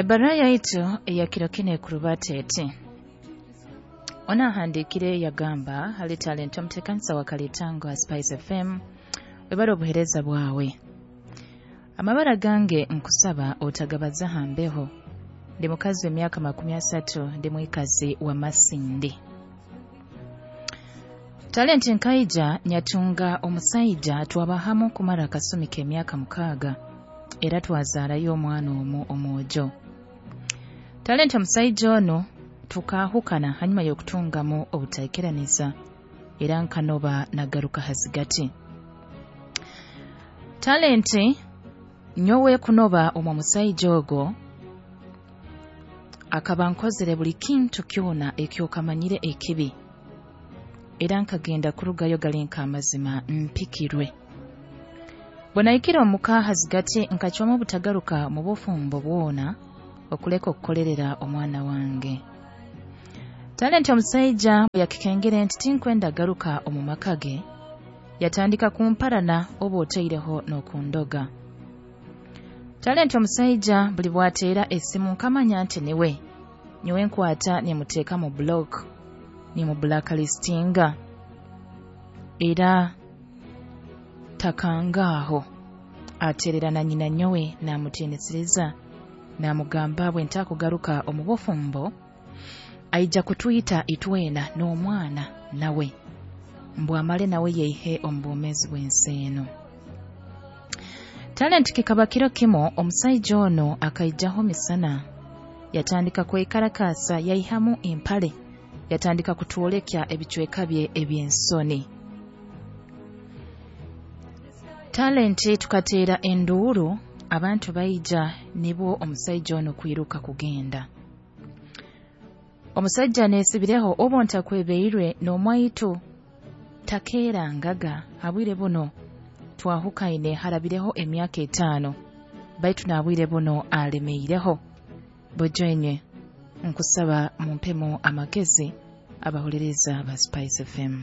Ebbaruha yaitu eya kiro kinu ekurubata eti: ono ahandiikire yagamba, "Hali Talenti omuteekanisa wa Kalitango ha Spice FM, webale obuheereza bwawe. Amabara gange nkusaba otagabaza ha mbeho. Ndi mukazi w'emyaka 30, ndi mwikazi wa Masindi. Talenti, nkaija nyatunga omusaija, twaba hamu kumara akasumi k'emyaka 6, era twazaarayo omwana omu omwojo. Talenti, omusaija onu tukaahukana hanyuma y'okutungamu obutaikiraniza, era nkanoba nagaruka hazigati. Talenti, nyowe kunoba omu musaija ogwo akaba nkozere buli kintu kyona ekyokamanyire ekibi, era nkagenda kurugayo gali nk'amazima mpikirwe. Bwe nahikire omuka hazigati, nkacwamu obutagaruka mu bufumbo bwona okuleka okukolerera omwana wange. Talenti, omusaija bwe yakikengere nti tinkwenda garuka omu maka ge, yatandika kumparana oba otaireho n'okundoga. Talenti, omusaija buli bwateera esimu nkamanya nti niwe, nyowe nkwata nimuteeka mu block, nimu blacklistinga, era takangaaho ateerera na nyina nyowe naamutiinisiriza, naamugamba bwe ntakugaruka omu bufumbo aija kutwita itwena n'omwana nawe, mbw amale nawe yeihe omu bwomeezi bw'ensi enu. Talenti, kikaba kiro kimu omusaija ono akaijaho misana, yatandika kwekarakasa, yaihamu empale, yatandika kutwolekya ebicweka bye eby'ensoni. Talenti, tukateera enduuru, abantu baija, nibwo omusaija ono kwiruka kugenda. Omusaija aneesibireho obu ntakwebeirwe n'omwaitu takeerangaga. Habwire buno twahukaine harabireho emyaka 5, baitu n'abwire buno alemeireho. Bojwenywe nkusaba mumpemu amagezi abahuliriza ba Spice FM."